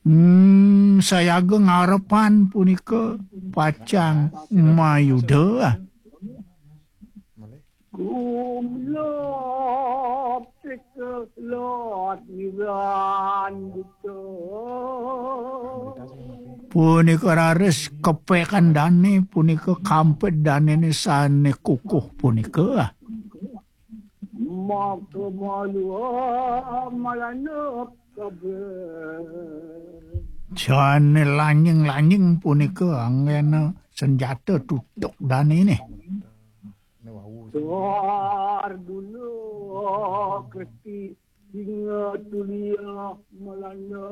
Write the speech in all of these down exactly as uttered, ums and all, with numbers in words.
Hmm, sayaga ngarepan punika pacang mayuda. Kumlop seka lot niran buta. Punika raris kepekan dane, punika kamped danene sane kukuh punika. Maka malua malanep kabeh. Jane lanying-lanying punika anggena senjata tutuk danene. Tuar dulu Kristi singa tulia Melanda.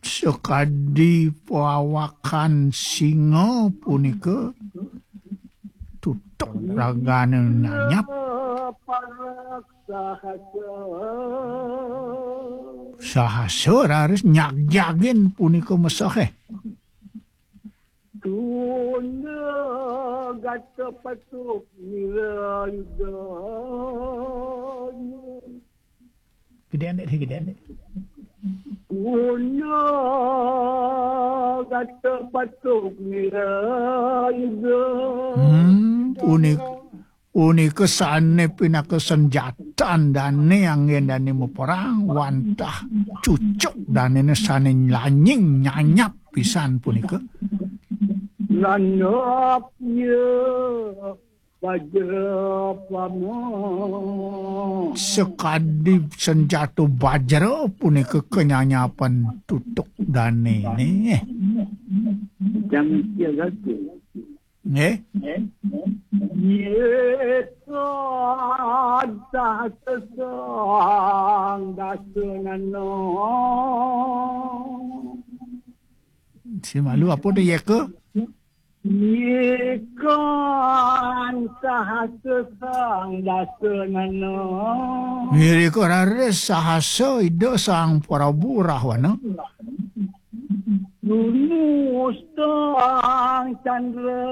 Sakadi pawakan singa punika tutuk ragane nanyap. Parak sahasa. Sahasa raris nyagjagin punika mesehe. Tunda gata patuk nira yuda. Gede anik, gede anik. Tunda gata patuk nira yuda. Hmm, punika, punika sane pinaka senjatan dane anggen dane maperang, wantah cucuk danene sane lanying nyanyap pisan punika. Lanap ya bajra pama. Sakadi senjata bajra punika kanyanyapan tutuk danene. Jang kira satu. Nggih. Ye kadah sesang dasa nana. Si malu apa tu, ye ke? Ye kan sahasa sang dasa nana. Ye ke raris sahasa Ida Sang Prabu Rahwana. Nunus tang candra.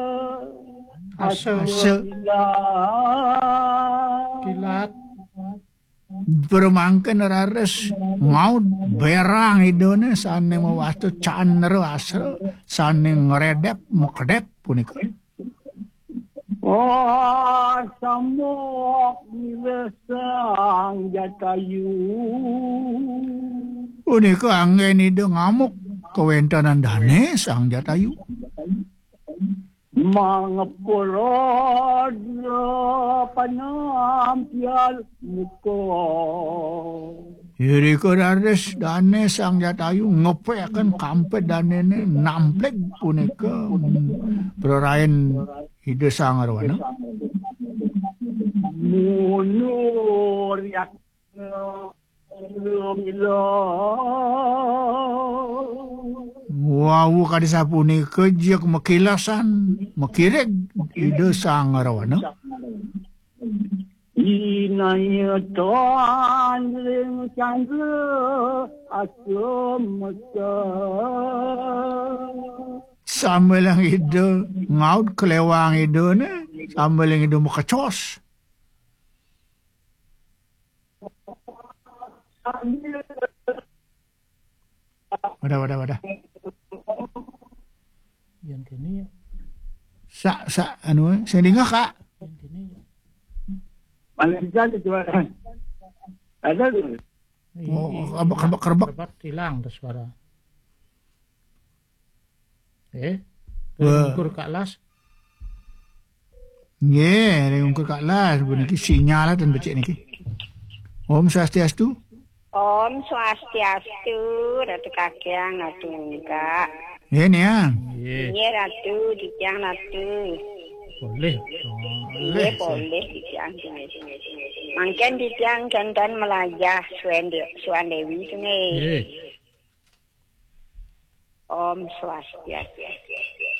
Asa. Asa. Kilat. Kilat. Pramangkin raris ngaud berang Idane sane mawasta candra asa sane ngredep makedep punika. Oh, samuk nira Sang Jatayu. Punika anggen Ida ngamuk kawentenan dane Sang Jatayu. Mangepul rodra panampial muka. Irika raris dane Sang Jatayu ngepekaken kamped danene namplig punika, mm, prarain Ida Sang Arwana. Munur yak Wau kadi sapunika jeg makilasan, makirig Ida Sang Rawana. Inaya tan ring candra asemesa. Sambilang Ida ngaud klewang Idane, sambilang Ida makecos. Wadah, wadah, wadah. Yang kene ya. Sak, sak, anu, eh, sing dingeh, Kak. Yang kene ya. Paling kan itu, Pak. Ada tu. Oh, kerebek, kerebek, kerebek. Kerebek, hilang tuh suara. Eh, wah. Ring ungkur Kak Las. Nggih, ring ungkur Kak Las, puniki sinyal ten becik niki. Om Swastiastu. Om Swastiastu, Ratu Kakang, Ratu Mungkak. Nggih, Niang. Nggih. Nggih, Ratu, titiang Ratu. Polih. Nggih, polih titiang. Mangkin titiang jantan melajah Suan De-, Suan Dewi tu nggih. Nggih. Om Swastiastu.